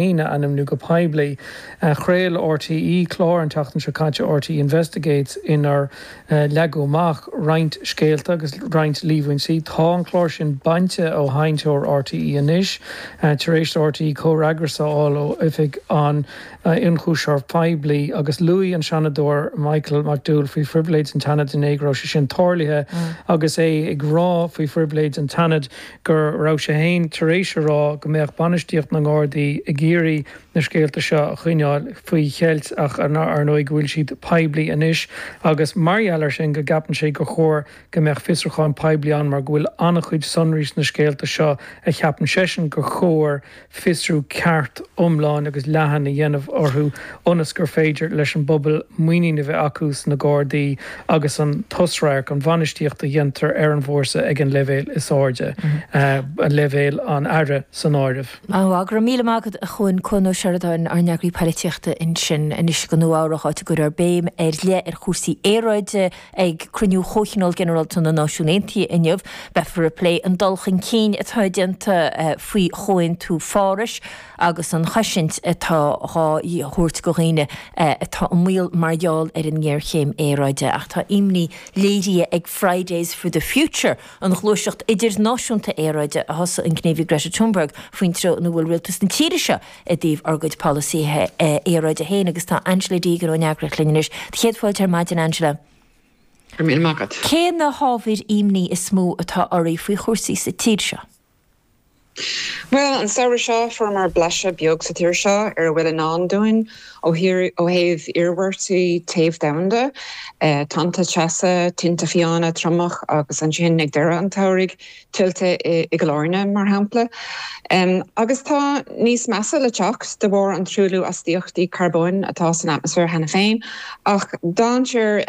A ainmniú go poiblí. Chraol RTÉ clár an tseachtain seo caite, RTÉ Investigates, inar leagadh amach roinnt scéalta agus roinnt líomhaintí. Tá an clár sin bainte ó sheinnteoir RTÉ anois, tar éis do RTÉ comhfhreagras a fháil ó Oifig an Ionchúisitheora Phoiblí agus luaigh an Seanadóir Michael McDowell faoi phribhléid an tSeanaid inné go raibh sé sin tarlaithe agus é ag rá faoi phribhléid an tSeanaid go raibh sé féin tar éis a rá go mbeadh bainistíocht na nGardaí ag iarraidh na scéalta seo a choinneáil faoi cheilt ach ar ndóigh go bhfuil siad poiblí anois agus mar gheall air sin go gceapann sé gur chóir go mbeadh fiosrúchán poiblí ann mar go bhfuil an-chuid sonraí sna scéalta seo a cheapann seisean gur chóir fiosrú ceart, iomlán agus leathan a dhéanamh orthu ionas gur féidir leis an bpobal muinín a bheith acu sna Gardaí agus an t-osradharc, an bhainistíocht a dhéantar ar an bhfórsa ag an leibhéal is airde, leibhéal an Aire san áireamh. Maith, go raibh míle maith agat a Chuain, Cuan Ó Seireadáin, ár n-eagraí poilitíochta ansin anois go Nua Eabhrach áit a gcuirfear béim ar leith ar chúrsaí aeráide. Ag cruinniú Chomhthionól Ginearálta na Náisiún Aontaithe inniu, beifear ag plé an dul chun cinn atá déanta faoi Chomhaontú Phárais agus an chosaint atá dhá thabhairt do dhaoine atá i mbaol mar gheall ar an ngéarchéim aeráide. Ach tá imní léirithe ag Fridays for the Future, an ghluaiseacht idirnáisiúnta aeráide a thosaigh an gníomhaí Greta Thunberg, faoin treo ina bhfuil rialtas na tíre seo i dtaobh ár gcuid polasaithe aeráide féin agus tá Angela Deegan ón eagraíocht linn anois. Do chéad fáilte ar maidin, Angela. Go raibh míle maith agat. Cé na hábhair imní is mó atá oraibh faoi chúrsaí sa tír seo? Bhuel, an samhradh seo fuaireamar blaiseadh beag sa tír seo ar a bhfuil i ndán dúinn ó thaobh iarmhairtí téamh domhanda, tonnta teasa, tinte fiáine, triomach agus ansin ag deireadh an tsamhraidh, tuilte i gCill Airne, mar shampla. Agus tá níos measa le teacht de bharr an truailliú astaíochtaí carbóin atá san atmaisféar cheana féin. Ach dainséar,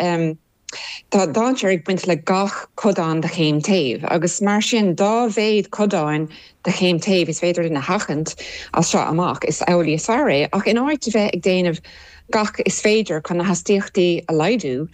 tá dainséar ag baint le gach codán de chéim téimh, agus mar sin, dá mhéad codáin de chéim téimh is féidir linn a sheachaint as seo amach, is amhlaidh is fearr é. Ach in áit a bheith ag déanamh gach is féidir chun na hastaíochtaí a laghdú.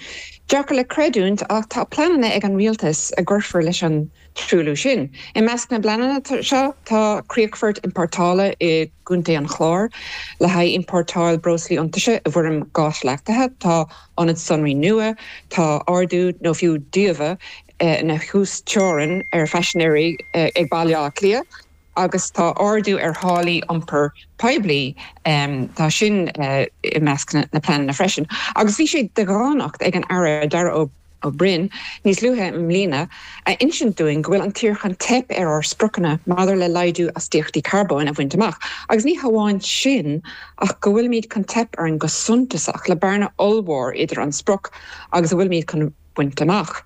Deacair le creidiúint ach tá pleananna ag an rialtas a gcuirfear leis an truailliú sin. I measc na bpleananna seo tá críochfort iompórtála i gContae an Chláir le haghaidh iompórtáil breoslaí iontaise i bhfoirm gáis leachtaithe, tá ionad sonraí nua, tá ardú nó fiú díobhadh na huasteorann ar phaisinéirí ag Baile Átha Cliath. agus tá ardú ar tháillí iompair poiblí, tá sin i measc na pleananna freisin. Agus bhí sé de dhánacht ag an Aire Darragh Ó Broin níos luaithe i mbliana a insint dúinn go bhfuil an tír chun teip ar ár spriocanna maidir le laghdú astaíochtaí carbóin a bhaint amach, agus ní hamháin sin ach go bhfuilimid chun teip orainn go suntasach le bearna ollmhór idir an sprioc agus a bhfuilimid chun baint amach.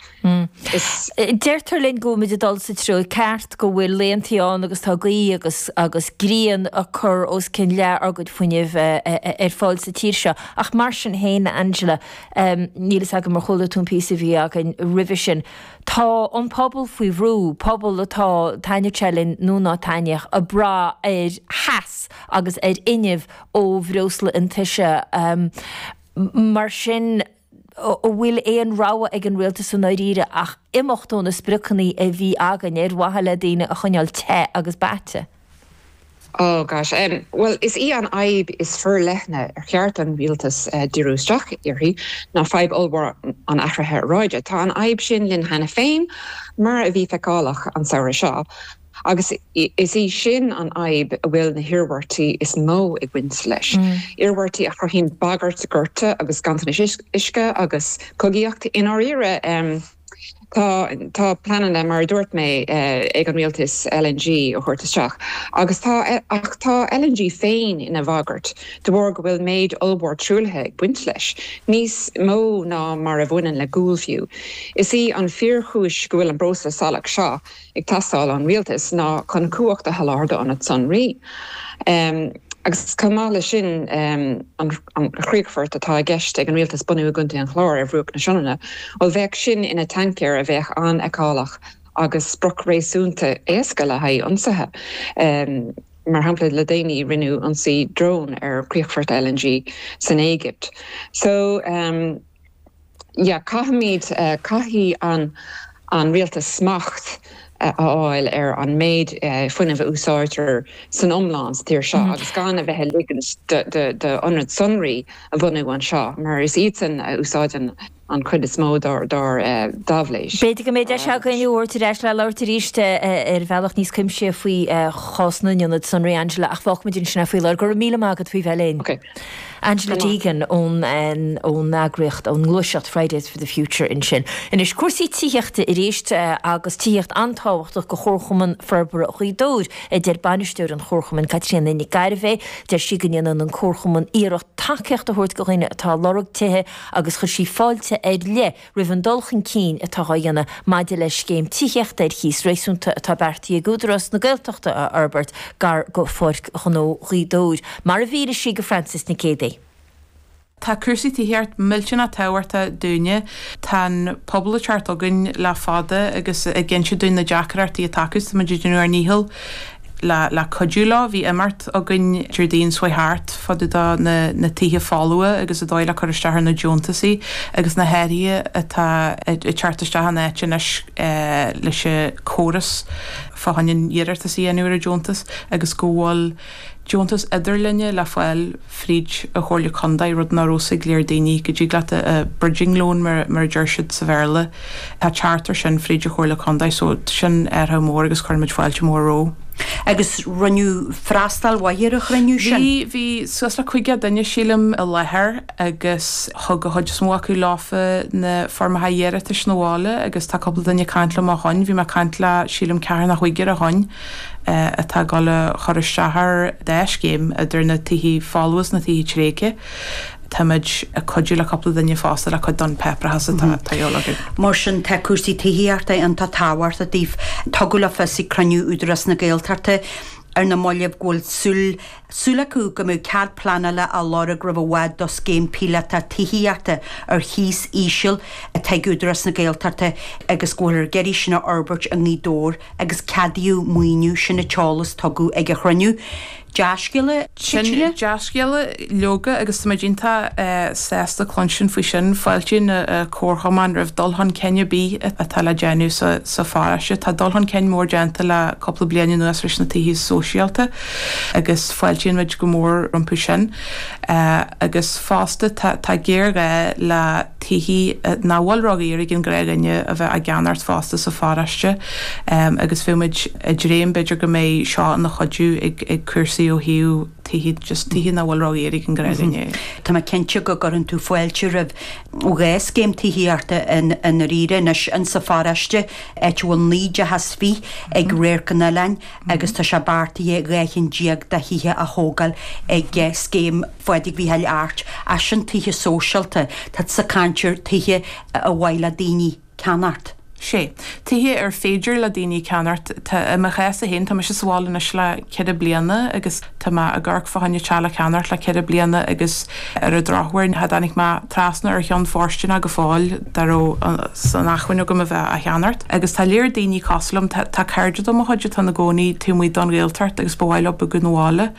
Is. Deirtear linn go bhfuilimid ag dul sa treo ceart, go bhfuil laethantaí ann agus tá gaoth agus agus grian ag cur os cionn leath ár gcuid fuinnimh ar fáil sa tír seo. Ach mar sin féin, Angela, níl fhios agam ar chuala tú an píosa a bhí againn roimhe sin, tá an pobal faoi bhrú, pobal atá, taitneodh sé linn nó ná taitneodh, ag brath ar theas agus ar fhuinneamh ó bhreosla iontaise. Mar sin. an bhfuil aon rogha ag an rialtas i ndáiríre ach imeacht ó na spriocanna a bhí againn ar mhaithe le daoine a choinneáil te agus beaite? Oh gosh. Bhuel, is í an fhadhb is forleithne ar cheart don rialtas díriú isteach uirthi ná fadhb ollmhór an athraithe aeráide. Tá an fhadhb sin linn cheana féin, mar a bhí feiceálach an samhradh seo. Agus is í sin an fhadhb a bhfuil na hiarmhairtí is mó ag baint leis, iarmhairtí a chruthaíonn bagairt gorta agus ganntanais uisce agus cogaíocht. I ndáiríre, tá tá pleananna, mar a dúirt mé, ag an rialtas LNG a thabhairt isteach agus tá ach tá LNG féin ina bhagairt de bharr go bhfuil méid ollmhór truaillithe ag baint leis, níos mó ná mar a bhaineann le gual fiú. Is í an fíorchúis go bhfuil an breosla salach seo ag teastáil ón rialtas ná chun cumhacht a sholáthar d'ionaid sonraí. Agus chomh maith leis sin, an chríochfort atá i gceist ag an rialtas bunú i gContae an Chláir ar bhruach na Sionainne, bhuel, bheadh sin ina tancaer a bheadh an-fheiceálach agus sprioc réasúnta éasca le haghaidh ionsaithe. Mar shampla, le déanaí rinneadh ionsaí drón ar chríochfort LNG san Éigipt. So. yeah, caithfimid, caithfidh an an rialtas smacht. a fháil ar an méid fuinnimh a úsáidtear san iomlán sa tír seo agus gan a bheith ag ligint d'ionaid sonraí a bhunú anseo mar is iadsan a úsáideann an chuid is mó dár n-aibhléis. B'fhéidir go mbeidh deis againn thú a thabhairt ar ais le labhairt arís ar bhealach níos cuimsithí faoi chás na n-ionad sonraí, Angela, ach fágfaimid ansin é faoi láthair. Go raibh míle maith agat faoi bheith linn. Ok. Angela Deegan ón ón eagraíocht, ón ngluaiseacht Fridays for the Future ansin. Anois, cúrsaí tithíochta arís agus tithíocht an-tábhachtach do Chomharchumann Forbartha Ghaoth Dobhair, a deir bainisteoir an Chomharchumainn, Caitríona Nic Gairbheith. Deir sí go ndéanann an Comharchumann iarracht tacaíocht a thabhairt do dhaoine atá ag lorg tithe agus chuir sí fáilte ar leith roimh an dul chun cinn atá á dhéanamh maidir le scéim tithíochta ar chíos réasúnta atá beartaithe ag Údarás na Gaeltachta a fhorbairt gar go Pháirc Ghnó Ghaoth Dobhair, mar a mhínigh sí go Frances Nic Géadaigh. Tá cúrsaí tithíocht millteanach tábhachtach dúinne. Tá an pobal ag teacht chugainn le fada agus ag inse dúinn na deacrachtaí atá acu. Tá muid ag déanamh ár ndícheall le le cuidiú leo. Bhí imeacht againn Déardaoin seo chuaigh thart fá dtaobh de na na tithe folmha agus an dóigh le cur isteach ar na deontasaí agus na hathruithe atá ag teacht isteach in áit anois leis an córas fá choinne an iarratas a dhéanamh ar an deontas agus go bhfuil deontas idirlinne le fáil fríd an Chomhairle Contae, rud nach raibh fhios ag léir daoine, go dtig leat a bridging loan mar a deir siad sa Bhéarla, tá teacht ar sin fríd an Chomhairle Contae so sin athrú mór agus cuireann muid fáilte mór rompu. Agus rinneadh freastal mhaith ar an chruinniú sin? Bhí, bhí suas le 50 duine sílim i láthair agus thug an chuid is mó acu leofa na foirmeacha iarratais 'na bhaile agus tá cúpla duine ag caint liom ó shoin, bhí mé ag caint le sílim ceathrar nó cúigear ó shoin. atá ag dul a chur isteach ar dá scéim, idir na tithe folmha is na tithe tréigthe. Táimid ag cuidiú le cúpla duine fosta le cuid don pháipéarachas atá de dhíobháil orthu. Mar sin, tá cúrsaí tithíochta iontach tábhachtach daoibh. Tugadh le fios ag cruinniú Údarás na Gaeltachta ar na mallaibh go bhfuil súil súil acu go mbeidh cead pleanála á lorg roimh i bhfad do scéim píolótach tithíochta ar chíos íseal atá ag Údarás na Gaeltachta agus go bhfuilthear ag iarraidh sin a fhorbairt i nGaoth Dobhair. agus ceadaíodh maoiniú, sin an t-eolas tugadh ag an chruinniú. Dea-scéala, Sin Caitríona? dea-scéala, leoga, agus tá muid iontach sásta cluinstin faoi sin. Fáiltíonn an Comharchumann roimh dul chun cinn ar bith atá le déanamh sa pharóiste. Tá dul chun cinn mór déanta le cúpla bliain anuas leis na tithe sóisialta agus fáiltíonn muid go mór rompu sin. Agus fosta tá géarghá le. tithe nach bhfuil ródhaor ag an ghnáthdhuine a bheith á gceannacht fosta sa pharóiste agus bheadh muid ag dréim b'fhéidir go mbeidh seo ina chuidiú ag cúrsaí ó thaobh tithe, just tithe nach bhfuil ródhaor ag an ghnáthdhuine. Tá mé cinnte go gcuireann tú fáilte roimh dhá scéim tithíochta i ndáiríre anois insa pharóiste, áit a bhfuil 19 dteach ag Radharc an Oileáin agus tá sé beartaithe 12 chinn de thithe a thógáil ag scéim Phádraig Mhícheáil Airt, ach sin tithe sóisialta, tá tusa ag caint ar tithe ar mhaith le daoine ceannacht. Sé. Tithe ar féidir le daoine ceannacht. Tá, i mo chás féin, tá mise sa bhaile anois le ceithre bliana agus tá mé ag amharc fá choinne teach le ceannacht le ceithre bliana agus ar an drochuair cha dtáinig mé trasna ar cheann fóirsteanach go fóill dá raibh san acmhainn agam a bheith á cheannacht. Agus tá léir daoine cosúil liom, tá, tá cairde de mo chuid atá ina gcónaí taobh amuigh don Ghaeltacht agus ba mhaith leo bogadh 'na bhaile.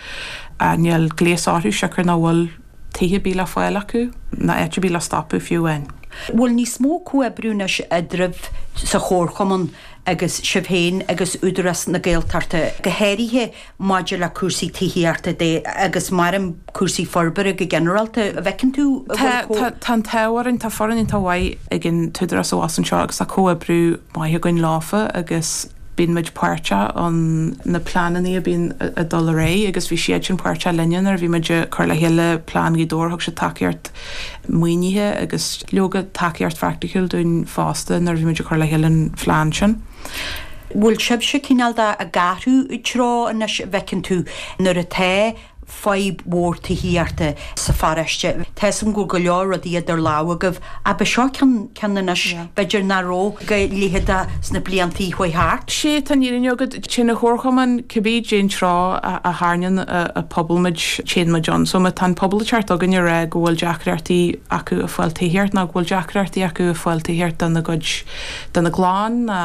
Níl gléas orthu siocair nach bhfuil tithe ar bith le fáil acu, ná áit ar bith le stopadh fiú amháin. Bhfuil níos mó comhoibriú anois eadraibh sa chomharchumann agus sibh féin agus Údarás na Gaeltachta, go háirithe maidir le cúrsaí tithíochta de agus maram cúrsaí forbartha go ginearálta, an bhfeiceann tú an bhfuil comh. Tá, tá an t-ádh orainn, tá foireann iontach mhaith ag an t-údarás abhus anseo agus tá comhoibriú maith againn leofa agus bíonn muid páirteach ann na pleananna a bíonn ag dul ar aghaidh agus bhí siadsan páirteach linne nuair a bhí muid ag cur le chéile plean Ghaoth Dobhair, thug siad tacaíocht maoinithe agus leoga tacaíocht phraiticiúil dúinn fosta nuair a bhí muid ag cur le chéile an phlean sin. Bhfuil sibhse cineál de ag athrú treo anois an bhfeiceann tú nuair atá fadhb mhór tithíochta sa pharóiste. Tá 'fhios a'm go bhfuil go leor rudaí idir lámha agaibh ach ba seo ceann ceann anois b'fhéidir nach raibh go leitheadach sna bliantaí a chuaigh thart. Sé tá an fhírinne agat, téann an Chomharchumann cibé cén treo a tharraingíonn an pobal muid, téann muid ann. So má tá an pobal ag teacht chugainn ag rá go bhfuil deacrachtaí acu ag fáil tithíocht nó go bhfuil deacrachtaí acu ag fáil tithíocht dona gcuid, dona gclann ná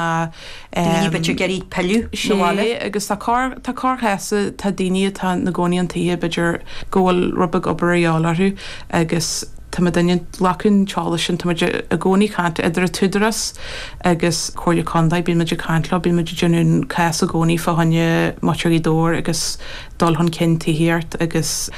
Daoine b'fhéidir ag iarraidh pilleadh 'na bhaile. Sé, agus tá corr, tá corrchás, tá daoine atá 'na gcónaí an tithe, b'fhéidir go bhfuil rud beag obair a dhíobháil orthu agus tá. Tá muidinne ag glacadh an t-eolas sin, tá muid i gcónaí ag caint idir an tÚdarás agus Comhairle Contae, bíonn muid ag caint leo, bíonn muid ag déanamh an cás i gcónaí fá choinne muintir Ghaoth Dobhair agus dul chun cinn tithíocht agus.